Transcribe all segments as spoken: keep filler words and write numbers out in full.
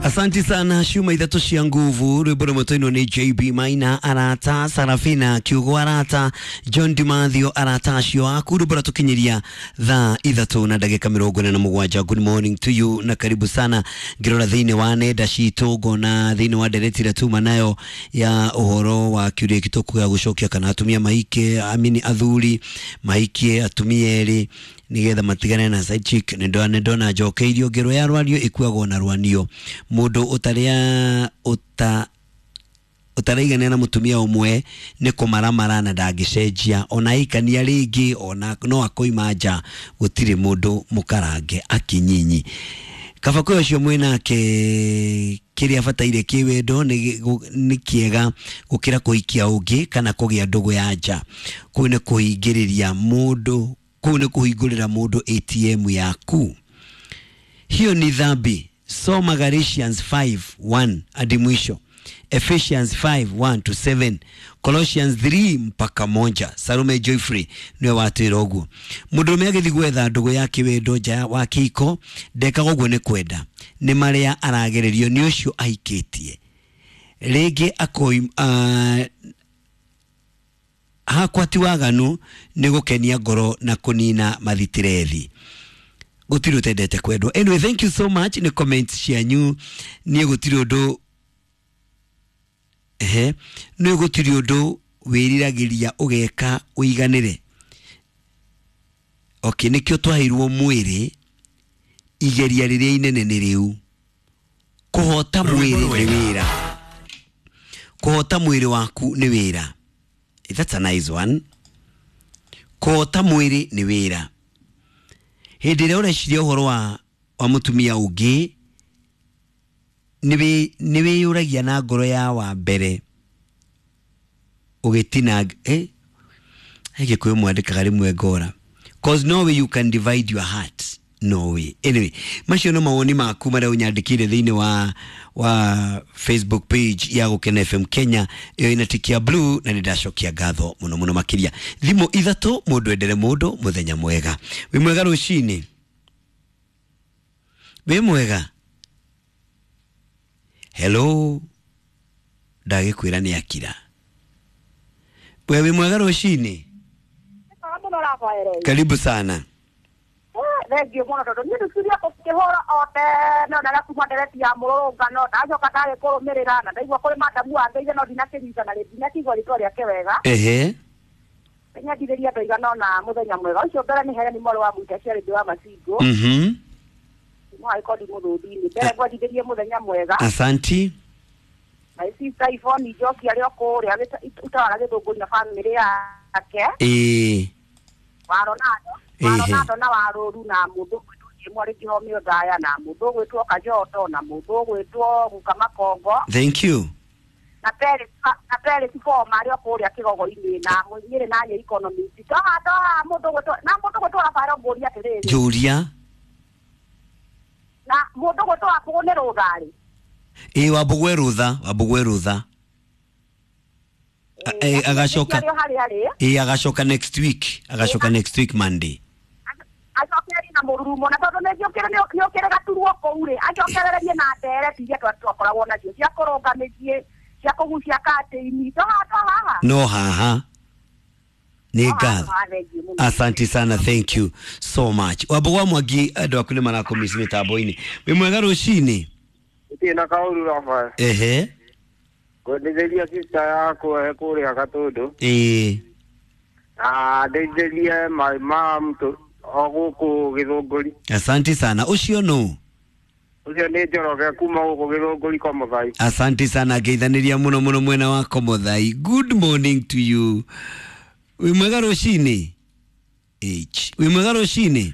Asanti sana ciuma ithatũ cia nguvu rwĩmbo rũmwe twainwo nĩ J B Maina arata Sarafina Kiugo arata John Dimathio arata acio aku rwĩmbo rwatũkinyĩria thaa ithatũ na ndagĩka mĩrongo ĩna na mũgwanja. Good morning to you na karibu sana. Ngĩrora thĩinĩ wa nenda citũ ngona thĩinĩ wa ndereti ĩrĩa tuma nayo ya ũhoro wa kĩũria gĩkĩ tũkuga gũcokia kana atumia mahike amini athuri mahikie atumia erĩ nigetha matigane na side chick. Nĩ ndona njokeirio ngero ya rwario ĩkuagwo na rwanio mũndũ ũtarĩa ũta ũtaraiganĩra na mũtumia ũmwe nĩ kũmaramara na ndangĩcenjia ona aikania rĩngĩ ona no akoima nja gũtirĩ mũndũ mũkarange akinyinyi kaba kwĩ ũcio mwĩnake kĩrĩa abataire kĩwendo nĩ kĩega gũkĩra kũhikia ũngĩ kana kũgĩa ndũgũ ya nja. Kũu nĩ kũhingĩrĩria mũndũ kũu nĩ kũhingũrĩra mũndũ A T M yaku, hiyo ni dhambi. Soma Galatians five one hadi mwisho, Ephesians five one to seven, Colossians three mpaka moja. Salume Joyfrey niwe watwĩra ũguo. Mũndũrũme agĩthiĩ gwetha ndũgũ ya kĩwendo nja wa kĩhiko ndekaga ũguo nĩ kwenda, nĩ marĩa aragererio nĩ ũcio ahikĩtie rĩngĩ akoi uh, hakwa ti waganu nĩ gũkenia ngoro na kũnina mathitirethi gũtirĩ ũtendete kwendwo. Anyway, thank you so much nĩ comments cianyu. Niĩ gũtirĩ ũndũ ehe nĩ gũtirĩ ũndũ wĩriragĩria ũgeka ũiganĩre. Okay, nĩkĩo twaheirwo mwĩrĩ igeria rĩrĩa inene nĩ rĩu kũhota mwĩrĩ nĩ wĩra kũhota mwĩrĩ waku nĩ wĩra. That's a nice one. Kũhota mwĩrĩ nĩ wĩra. Hĩndĩ ĩrĩa ũreciria ũhoro wa wa mũtumia ũngĩ nĩ wĩyũragia na ngoro ya wa mbere ũgĩtina eh Gĩkũyũ mwandĩkaga rĩmwe ngora, 'cause no way you can divide your heart, no way. Anyway, macio no mawoni maku marĩa ũnyandĩkĩire thĩinĩ wa wa Facebook page ya Gũkena F M Kenya ĩyo ĩna tiki ya blue na nĩ ndacokia ngatho mũno mũno makĩria. Thimũ ithatũ mũndũ endere mũndũ mũthenya mwega. Wĩ mwega rũcinĩ? Wĩ mwega? Hello, ndagĩkwĩra nĩ akira. We wĩ mwega rũcinĩ? Mũno Rafael. Karibu sana. Thengiũ mũno tondũ niĩ ndiciria kũhũra o tene ona kuma ndereti ya mũrũrũngano ndacoka ndagĩkũrũmĩrĩra na ndaigua kũrĩ madamu wangĩire no ndinakĩnyita na ndinakĩigua rĩtwa rĩake wega. Ehe. Nyendithĩria andũ aigana ũna mũthenya mwega. Ũcio mbere nĩ Hereni mwarĩ wa Mũita Charity wa Macingo. Mhm Mwagĩkondi mũthũndi-inĩ mbere ngwendithĩrie mũthenya mwega. Asanti. My sister Yvonne Njoki arĩ o kũrĩa Utawala Gĩthũngũri na bamĩrĩ yake. Ĩĩ. Wa Ronaldo wa Ehe. Ronaldo na wa Rũru na mũndũ ũgwĩtwo Jimũ arĩ Kĩhomio Ndaya na mũndũ ũgwĩtwo Kajoto na mũndũ ũgwĩtwo Guka Makongo. Thank you. Na Felix na Felix Foma arĩ o kũrĩa Kĩgogo-inĩ na Nyĩrĩ na Nyĩ economist toha toha mũndũ ũgwĩtwo na mũndũ ũgwĩtwo Rafael ngũria atĩrĩrĩ. Njũria. Na mũndũ ũgwĩtwo Wambũgũ nĩ rũtharĩ. Ĩĩ, Wambũgũ e rũtha, Wambũgũ e rũtha. A- eh, agacoka Arĩ o harĩa arĩ. Ĩĩ, agacoka next week, agacoka next week Monday. Acokererie na mũrurumo na tondũ nĩ ũkĩrĩ gaturwo kũu rĩ acokererie na ndereti iria twa- twakoragwo nacio cia kũrũnga mĩciĩ cia kũgucia katĩini toha tohaha. No haha nĩ ngatho. Haha, thengiũ mũno. Asante sana, thank you so much. Wambũgũ wa Mwangi, andũ aku nĩ marakũmici mĩtambo-inĩ. Wĩ mwega rũcinĩ? Itirĩ na kaũru Rafael. Ehe. Ngwendithĩria sister yakwa e kũrĩa Gatũndũ Ĩĩ. Na ndeithĩrie my mom tũ o gũkũ Gĩthũngũri. Asante sana. Ũcio nũ? Ũcio nĩ Njoroge kuma gũkũ Gĩthũngũri kwa Mũthai. Asante sana, ngeithanĩria mũno mũno mwena wa Komothai. Good morning to you. Wĩ mwega rũcinĩ? H wĩ mwega rũcinĩ?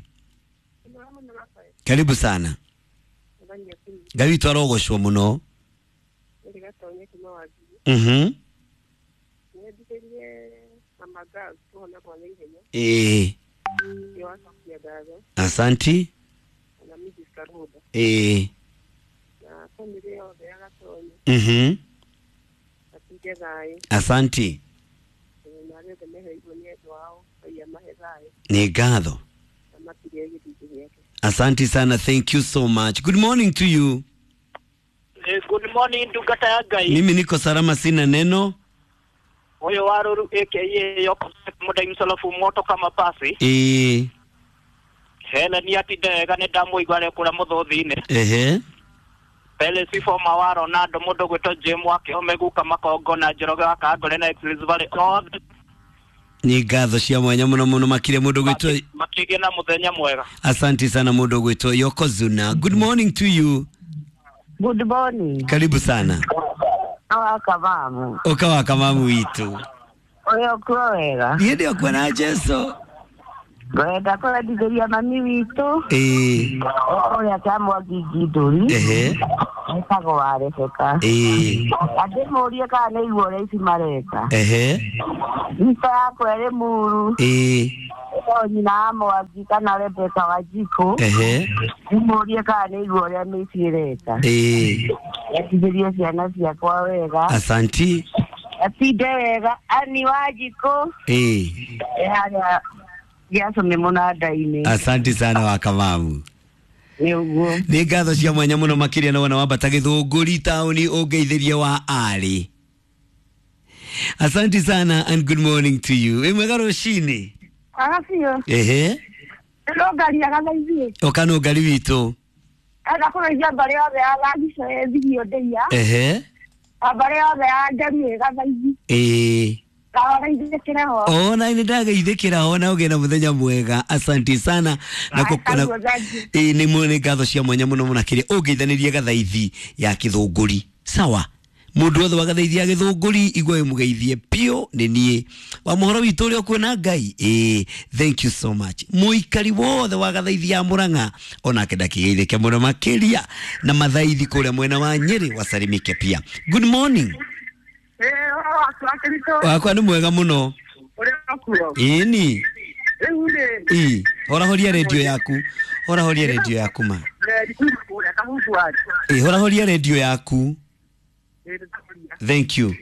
Karibu sana. Ngai witũ arogocwo mũno. Mhm nyendithĩrie mama girls kũhona kwa naihenya. Ĩĩ. Nĩwacokia ngatho. Asanti. Na Missus Karuda Ĩĩ. Na bamĩrĩ yothe ya Gatonyo mhm matige thayũ. Asanti. Na arĩa othe meheirwo nĩ endwa ao Ngai amahe thayũ Nĩ ngatho. Na matige gĩthingĩ gĩake. Asante sana, thank you so much. Good morning to you. Good morning ndungata ya Ngai. Mimi niko salama, sina neno. Ũyũ wa Ruru aka Yoko Mũndai Msolofu moto kama pasi. Ĩĩ. Helen atinda wega nĩ ndamũigua arĩ kũrĩa mũthũthi-inĩ. Ehe. Pele Sifoma wa Ronaldo mũndũ gwĩtwo Jim wa Kĩhome guka Makongo na Njoroge wa Kangore na Express Valley othe Nĩ ngatho cia mwanya mũno mũno makĩria mũndũ gwĩtwo makĩgĩa na mũthenya mwega. Asante sana mũndũ gwĩtwo Yokozuna. Good morning to you. Good morning. Karibu sana. Awakamamu. Ũka kamamu witũ. Ũrĩa ũkuo wega. Niĩ ndĩ okuo na Jesu. Ngwenda kũrendithĩria mami witũ. Ĩĩ. Ũrĩa Kĩamwangi Ngindũri. Ehe. Etagwo wa Rebeka. Ĩĩ. Andĩmũrie kana nĩ igua ũrĩa ici mareka. Ehe. Mbica yakwa ĩrĩ muru. Ĩĩ. O nyina wa Mwangi kana Rebeka Wanjikũ. Ehe. Ndĩmũrie kana nĩ igua ũrĩa mĩciĩ ĩreka. Ĩĩ. Endithĩrie ciana ciakwa wega. Asanti. Atinde wega. Ani Wanjikũ. Ĩĩ. Ĩ harĩa Gĩacũmĩ mũnanda-inĩ. Asante sana wa kamamu. Nĩ ũguo. Nĩ ngatho cia mwanya mũno makĩria na wona wambata Gĩthũngũri taũni ũngeithĩrie wa arĩ. Asante sana and good morning to you. Ĩ mwega rũcinĩ. Aga biũ. Ehe. Nĩrũngaria gathaithi. Ũka nũngari witũ. Enda kũgeithia mbarĩ yothe ya Thagico ĩ Thigio Ndĩia. Ehe. Na mbarĩ yothe ya Njeri ĩ Gathaithi. Ĩĩ. Ndawageithĩkĩre ho. Ona nĩ ndageithĩkĩra ho na ũgĩe na mũthenya mwega. Asante sana. Na kũ- na- Kaguo, thank you. ĩĩ nĩ mũ- nĩ ngatho cia mwanya mũno mũno makĩria ũngeithanĩrie gathaithi ya Gĩthũngũri. Sawa. Mũndũ wothe wa gathaithi ya Gĩthũngũri igua mũgeithie piũ nĩ niĩ. Wa mũhoro witũ ũrĩa ũkuona Ngai. Ĩĩ, thank you so much. Mũikari wothe wa gathaithi ya Mũrang'a onake ndakĩgeithĩke mũno makĩria na mathaithi kũrĩa mwena wa Nyĩrĩ wasalimike pia. Good morning. Ĩĩ, ũhoro waku wa Kĩritũ? Wakwa nĩ mwega mũno. Ũrĩa ũkuo? Ĩni. Rĩu rĩ, Ĩ, horahoria redio yaku. Horahoria redio yaku ma. nderi kuma kũrĩa Kahumbu-Ward. Ĩ, horahoria redio yaku. Ĩĩ, nĩndakũria. Thank you.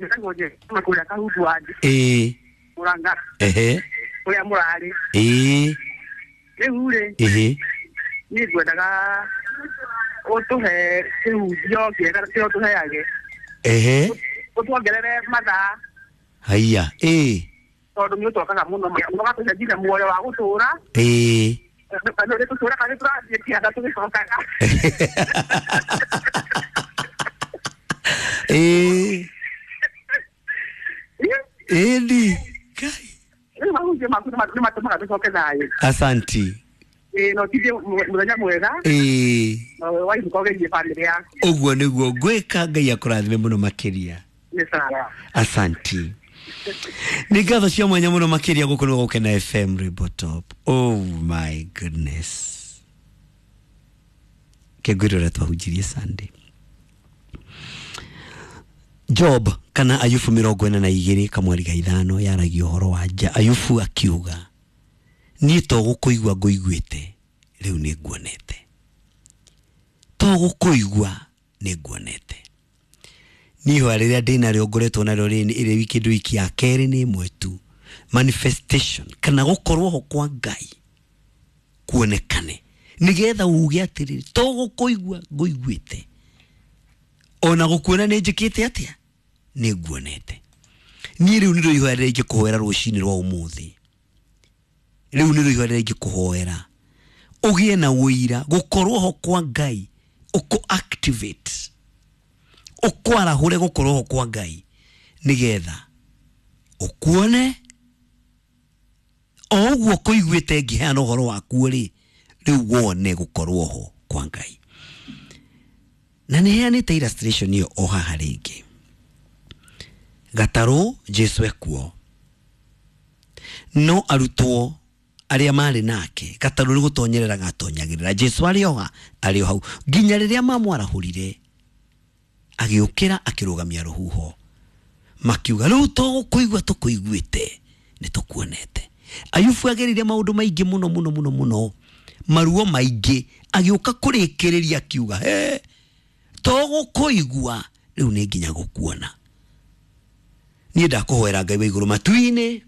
Nĩtagwo Njeri kuma kũrĩa Kahumbu-Ward, Ĩ, Mũrang'a, ehe. kũrĩa mũrarĩ. Ĩ, Rĩu rĩ, ehe. niĩ ngwendaga ũtũhe kĩhunjio kĩega kĩrĩa ũtũheage. Ehe. Ũtuongerere mathaa Haiya. Ĩ, tondũ nĩ ũtwakaga mũno ũgatũhe nginya muoyo wa gũtũũra. ĩ. Na nĩ tũtũũraga nĩ tũrathiĩ kĩanda tũgĩcokaga. Ĩ. Ĩni. Kai. Rĩu mahunjio maku nĩ matũmaga tũcoke thayũ. Asanti. Ĩĩ, na ũtindie mũthenya mwega Ĩ. na wainũka ũgeithie bamĩrĩ yaku. Ũguo nĩguo ngwĩka. Ngai akũrathime mũno makĩria. Nĩ sawa. Asanti. Nĩ ngatho cia mwanya mũno makĩria gũkũ nĩ Gũkena F M Rainbow Top. Oh my goodness. Kengwĩra ũrĩa twahunjirie Sunday. Job kana Ayubu mĩrongo ĩna na igĩrĩ kamweri ga ithano yaragia ũhoro wa nja. Ayubu akiuga niĩ to gũkũigua ngũiguĩte rĩu nĩ nguonete. To gũkũigua nĩ nguonete. Niĩ ihoya rĩrĩa ndĩnarĩo ngoretwo narĩo rĩ ĩrĩ wiki kĩndũ wiki ya kerĩ nĩ ĩmwe tu. Manifestation kana gũkorwo ho kwa Ngai kuonekane nĩgetha uge atĩrĩrĩ to gũkũigua ngũiguĩte ona gũkuona nĩ njĩkĩte atĩa nĩ nguonete. Niĩ rĩu nĩrĩo ihoya rĩrĩa ingĩkũhoera rũcinĩ rwa ũmũthĩ. Rĩu nĩrĩo ihoya rĩrĩa ingĩkũhoera ũgĩe na ũira gũkorwo ho kwa Ngai ũkũ activate ũkwarahũre gũkorwo ho kwa Ngai nĩgetha ũkuone o ũguo kũiguĩte ngĩheana ũhoro wakuo rĩ rĩu wone gũkorwo ho kwa Ngai. Na nĩ heanĩte illustration ĩyo o haha rĩngĩ. Gatarũ Jesu ekuo no arutwo arĩa marĩ nake gatarũ nĩ gũtonyerera gatonyagĩrĩra Jesu arĩ oha arĩ o hau nginya rĩrĩa mamwarahũrire agĩũkĩra akĩrũgamia rũhuho makiuga rĩu to gũkũigua tũkũiguĩte nĩ tũkuonete. Ayubu agereire maũndũ maingĩ mũno mũno mũno mũno maruo maingĩ agĩũka kũrĩkĩrĩria akiuga he to gũkũigua rĩu nĩ nginya gũkuona. Niĩ ndakũhoera Ngai wa igũrũ matu-inĩ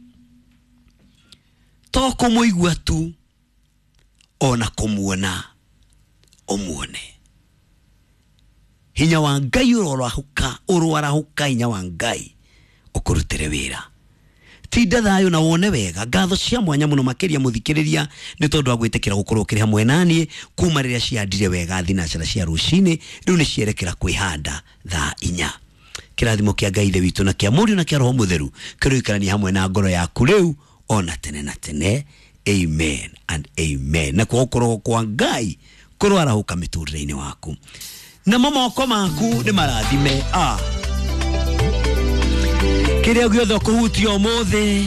to kũmũigua tu ona kũmuona ũmuone. Hinya wa Ngai ũroarahũka, ũroarahũka hinya wa Ngai ũkũrutĩre wĩra. Tinda thayũ na wone wega. Ngatho cia mwanya mũno makĩria mũthikĩrĩria nĩ tondũ wa gwĩtĩkĩra gũkorwo ũkĩrĩ hamwe naniĩ kuma rĩrĩa ciandire wega thinacara cia rũcinĩ, rĩu nĩ cierekera kwĩhanda thaa inya. Kĩrathimo kĩa Ngai Ithe witũ na kĩa Mũriũ na kĩa Roho Mũtheru kĩroikarania hamwe na ngoro yaku rĩu ona tene na tene. Amen and amen. Na kwa gũkorwo kwa Ngai kũroarahũka mĩtũrĩre-inĩ waku, namo moko maku nĩ marathime. Ah, kĩrĩa gĩothe ũkũhutia ũmũthĩ,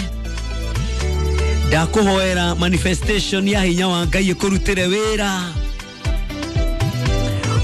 ndakũhoera manifestation ya hinya wa Ngai ĩkũrutĩre wĩra.